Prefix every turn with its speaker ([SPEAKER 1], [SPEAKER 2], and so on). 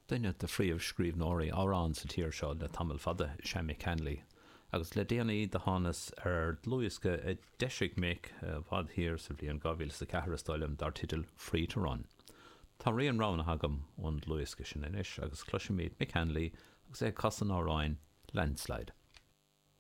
[SPEAKER 1] Duine de phríomhscríbhneoirí amhrán sa tír seo le tamall fada is ea Mick Hanley, agus le déanaí do thánas ar dhlúthdhiosca a d'eisigh Mick i bhfad thiar sa bhliain 2004 is dóigh liom, dar teideal Free to Run. Tá rian roghnaithe agam ón dlúthdhiosca sin anois agus cloisfimid Mick Hanley agus é ag casadh an amhráin Landslide.